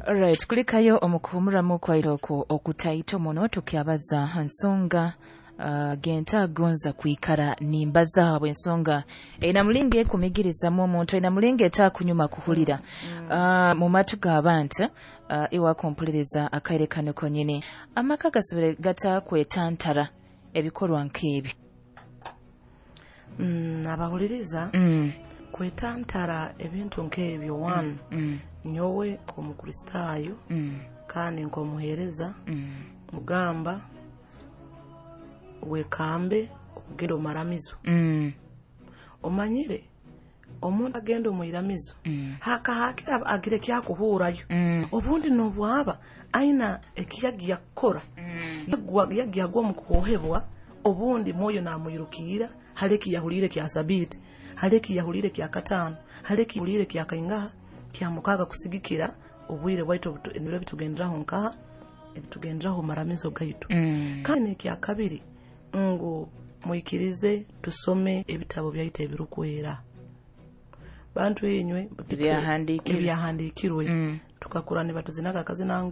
Alright, kulikayo omukuhumuramu kwairo okwo okutaito muno, tukyabaza ha nsonga gentagonza kwikara nimbaza habw'ensonga eina mulingo ekumigirizamu omuntu, eina mulingo etakunyuma kuhulira mu matu g'abantu. Iwe akumpuliriza akaire kano konyini, amaka gasobole gatakwetantara ebikorwa nk'ebi? Abahuliriza, kwetantara ebintu nk'ebyo, one, nyowe nk'Omukristaayo kandi nk'omuheereza, mugamba wekambe okugenda omu maramizo. Omanyire omuntu agenda omu iramizo, hakahakira agira ekyakuhurayo, obundi nobwaba aina ekiyagiya kukora, yagiya agwa omu kuhohebwa, obundi Mwoyo namwirukiira hali ekiyahuliire kya sabiiti, hali ekiyahuliire kya kataano, hali ekiyahuliire kya kaingaha, kya mukaaga, kusigikira obwire bwaitu ebiro ebitugenderaho nkaha ebitugenderaho omu maramizo gaitu. Kandi n'ekyakabiri ngu mwikirize tusome ebitabo byaitu ebirukwera, bantu inywe. Ebyahandiikirwe. Ebyahandiikirwe. Tukakura nibatuzinaga akazina ngu